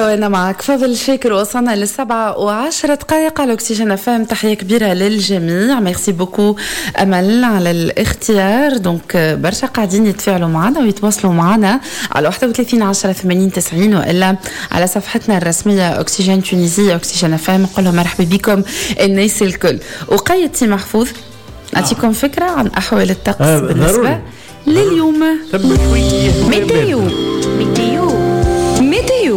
وانا معك فضل شاكر. وصلنا ل7:10 على اكسجين FM. تحية كبيرة للجميع، merci beaucoup امل على الاختيار. donc برشا قاعدين يتفاعلوا معنا ويتواصلوا معنا على 31 10 80 90 والا على صفحتنا الرسمية اكسجين Tunisie، اكسجين FM. نقول لهم مرحبا بكم الناس الكل. وقيت سي محفوظ، نعطيكم فكرة عن احوال الطقس بالنسبة لليوم. météo météo météo.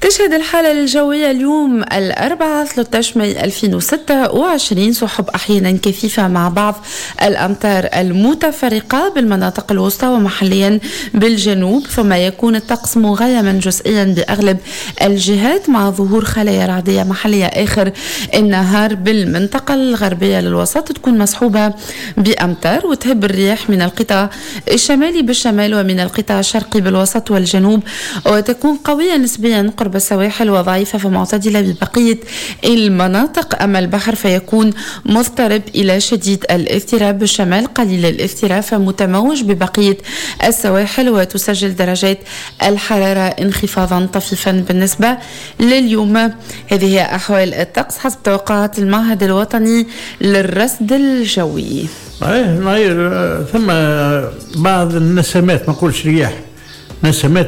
تشهد الحالة الجوية اليوم الأربعاء 13 ماي 2026 سحب أحيانا كثيفة مع بعض الأمطار المتفرقة بالمناطق الوسطى ومحليا بالجنوب، ثم يكون الطقس مغيما جزئيا بأغلب الجهات مع ظهور خلايا رعدية محلية آخر النهار بالمنطقة الغربية للوسط تكون مصحوبة بأمطار، وتهب الرياح من القطاع الشمالي بالشمال ومن القطاع الشرقي بالوسط والجنوب، وتكون قوية نسبيا قرب السواحل وضعيفة فمعتدلة ببقية المناطق. أما البحر فيكون مضطرب إلى شديد الاضطراب بالشمال، قليل الاضطراب فمتموج ببقية السواحل، وتسجل درجات الحرارة انخفاضا طفيفا بالنسبة لليوم. هذه هي أحوال الطقس حسب توقعات المعهد الوطني للرصد الجوي. ثم بعض النسمات، ما نقولش رياح، نسمات.